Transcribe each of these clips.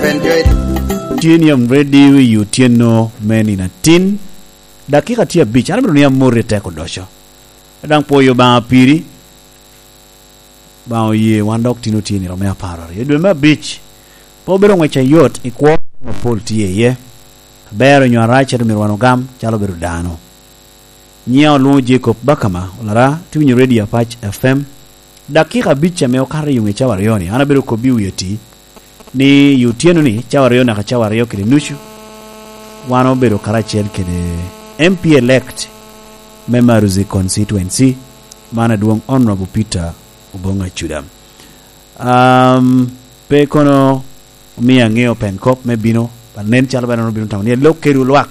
have enjoyed. Tye ni am ready i otyeno me nino atin. Dakika tye abic, an amito ni amoti tek odoco. Dang pwoyo Lubanga piri. Lubanga oye wan dok tin otye nino me apararyo i dwe me abic. Pe obedo ngwec ayot i kwo mapol tye iye. Aber onyo arac ento myero wan ogam calo obedo dano. Nyinga olwongo Jacob Bakama olara tye winyo radio Apac FM. Dakika abic ame okato i yunge cawa aryo ni an abedo kobbi i wi oti ni i otyeno ni cawa aryo naka cawa aryo kede nucu wan obedo karacel kede MP elect me Maruzi constituency man adwong Honourable Peter Obong Acuda. Um, pe kono omiyo angeyo pen kop me bino, but nen calo bene en obino tamo ni elok kedwu lwak,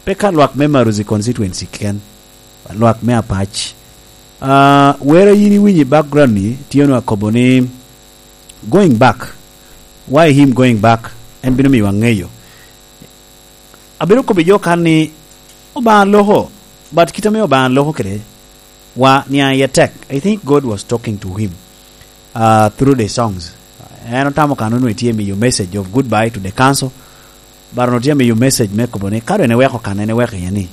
pe ka lwak me Maruzi constituency keken, but lwak me Apac. Uh, wer a in iwinyo i background ni tye onongo akobo ni going back, why him going back, en bino miyo angeyo. Abedo kobo i jo kan ni Obanga loko, but kite me Obanga loko kede wa niang iye tek. I think God was talking to him uh, through the songs. En otamo kan onongo etye miyo message of goodbye to the council, but onongo tye miyo message me kobo ni ka dong en eweko kan en eweko iye ni,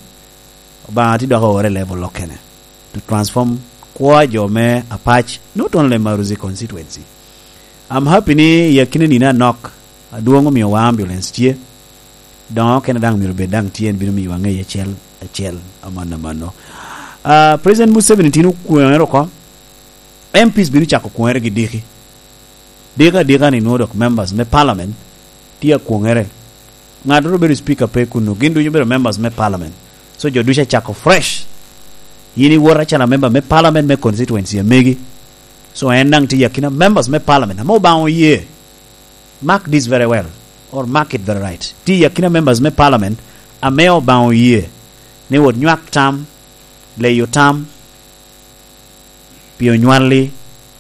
Obanga tye dok oore level okene to transform kwo jo me Apac, not only Maruzi constituency. I'm happy ni i akine nine anok adwong omiyo wa ambulance tye. Dongo kene dang myero obed dang tye en bino miyo wa ngec acel acel amano amano. Uh, President Museveni tino kwongere oko. MPs bino cako kwongere gi diki. Diki adika ni nwo dok members me parliament tye akwongere. Ngat oro bedo speaker pe kunu, gin ducu bedo members me parliament. So jo ducu acako fresh. In iwot acalo member me parliament me constituency amegi. So en dang tye i akina members me parliament ame Obanga oye. Mark this very well or mark it very right, tye i akina members me parliament ame Obanga oye ni wot nywak tam, leyo tam pi onywali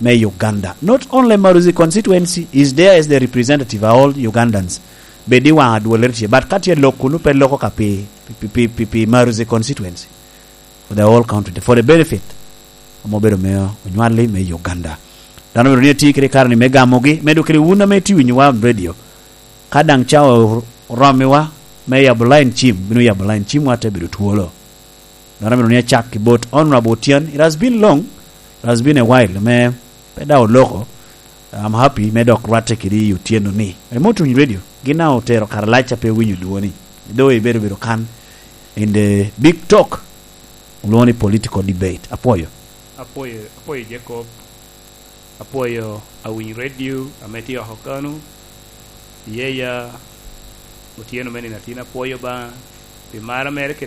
me Uganda. Not only Maruzi constituency is there as the representative a all Ugandans bed i wang adwolere tye but ka tye lok kunu pe loko ka pi pi pi pi Maruzi constituency for the whole country for the benefit ma obedo me onywali me Uganda. Dano myero ni eti kede kare ni me gamogi medo kede wun ame iti winyowa on radio. Ka dang cawa oromiwa me yabo line cim, bino yabo line cimwa te bedo twolo. Dano myero ni acak ki bot Honourable Otyen. It has been long, it has been a while me pe dang oloko. I'm happy me dok rwatte kedi i otyeno ni. Remote winyo radio gin na otero kare lac ca pe winyo dwoni. Though ibedo bedo kan in the big talk olwongo ni political debate. Apwoyo. Apwoyo, apwoyo Jacob, apwoyo awiny radio ame tye oko kanu, iyeya otyeno me nino atin apwoyo Banga pi mara mere kede.